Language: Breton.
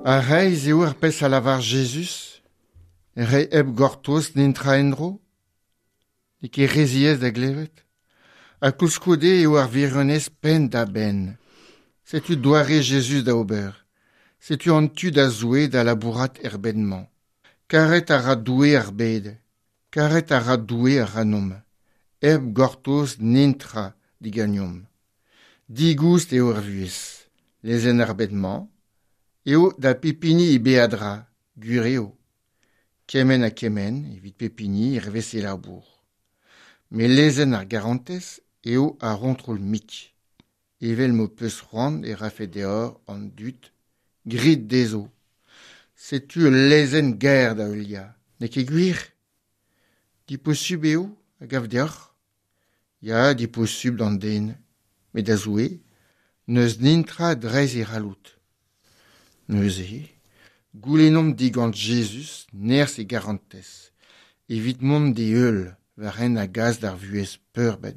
Ha reizh eo ar pezh a lavar Jezuz, reiñ hep gortoz netra en-dro ? N'eo ket re ziaes da glevet. Ha koulskoude eo ar wirionez penn-da-benn. Setu doare Jezuz da ober. Setu an tu da Zoue da labourat er bed-mañ. Karet a ra Doue ar bed. Karet a ra Doue ac'hanomp. Hep gortoz netra diganeomp. Digoust eo ar vuhez. Lezenn ar bed-mañ eo da pep hini e beadra, gwir eo. Kement ha kement evit pep hini hervez e labour. Met lezenn ar garantez eo ar c'hontrol-mik. Evel m'ho peus c'hoant e rafe deoc'h an dud, grit dezho. Setu ul lezenn gaer da heuliañ, n'eo ket gwir ? Diposubl eo, a gav deoc'h ? Ya, diposubl d'an den, met da Zoue, n'eus netra dreist e c'halloud. Neuze, goulennomp digant Jezuz nerzh e garantez, evit mont d'e heul war hent a gas d'ar vuhez peurbadus.